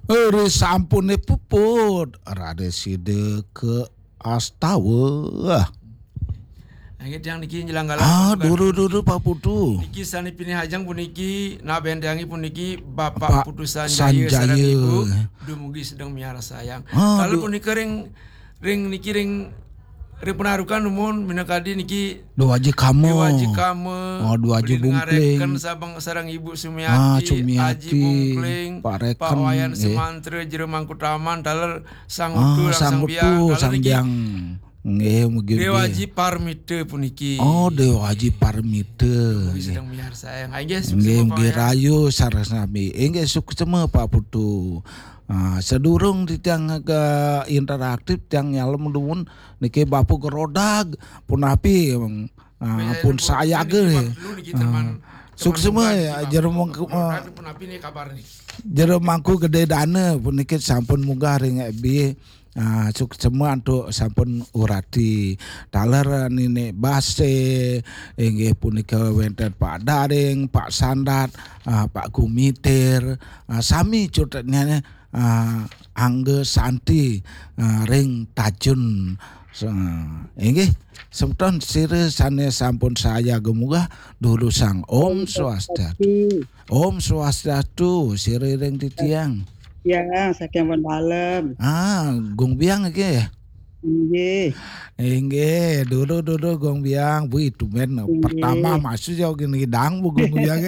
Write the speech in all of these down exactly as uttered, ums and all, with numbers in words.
Ri sampune puput, raris sida ka astawa. Nggih, tiang niki nyelenggara Ah, pasukan dulu, dulu, Pak Putu. Niki sane pinih ajeng puniki, nabentengi puniki Bapak Pak Putu Sanjaya Sanjaya. Sareng Ibu, dumugi sedeng miarsayang. Ah, Kalau du- punika ring, ring niki ring, ring Penarukan numun minakadi niki Dewa Aji Kama. Dewa Aji Kama, Oh, Dewa Aji Budi Bungkling. Ngareken sabeng sareng Ibu Sumiati, Ah, Sumiati, Aji Bungkling, Pak Reken, Pak Wayan nggih. Sumantra, Jero Mangku Taman, taler Sang Ah, Utu, Sang Sang Biang, Utu, taler Sang niki Biang. Nggih, mugi-mugi. Dewa Aji Parmita puniki. Oh, Dewa Aji Parmita. Mugi Nggih. Sedang miarsayang. Inggih, Nggih, suksma, Pak nggih, Wayan. Rahayu sareng sami. Inggih, suksma, Pak Putu. Ah, sadurung titiang ke interaktif, tiang nyalem dumun niki Bapu Gerodag. Punapi, ah, Nggih, pun niki saya niki ge. Bapu niki Ah. Teman, teman Suksma, munggah niki, Bapu Jero Mangku, Gerodag, ah, punapi nih kabar nih. Jero Mangku Gede Dana puniki sampun munggah ring F B. Ah, suksma antuk sampun urati. Taler Nini Base, inggih punika wenten Pak Daring, Pak Sandat, ah, Pak Gumitir, ah, sami cutetnya, ah, Angga Santi, ah, ring Tajun. Sa-, inggih, semeton sira sane sampun saya gemuga durusang Om Swastiastu. Om Swastiastu, sira ring titiang. Ya, saking pun dalem. Ah, Gung Biang nggih. Inggih. Inggih, dulu, dulu, Gung Biang. Wih, tumben. Inggih. Pertama masuk jauh gini dang, Bu Gung Biang.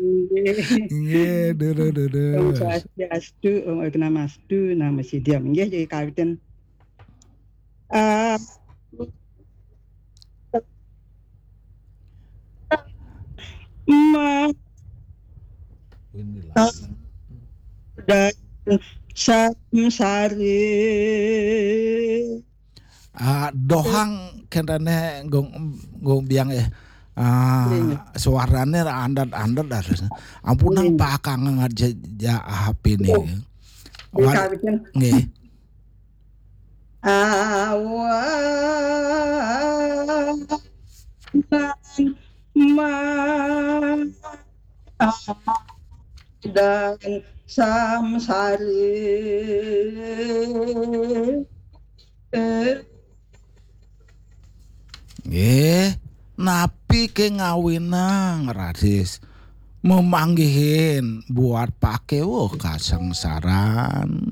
Inggih. Inggih, dulu, dulu. Om Swastiastu, Om Agnamastu, Namo Siddham. Inggih, jadi kawitin. Ah, ma-, Inilah. Dan samsari. Ah, dohang kentane Gung, Gung Biang eh. Ah, Iya. Suarane andat-andat dah. Ampunang Iya. Pak Kang ngaja ja H P ni. Oh. Wal- Iya, kawitin. Nggih. Awan ma-, dan samsari. Nggih, napi ke ngawinang, Radis? Memanggihin buat pakewa kasangsaran.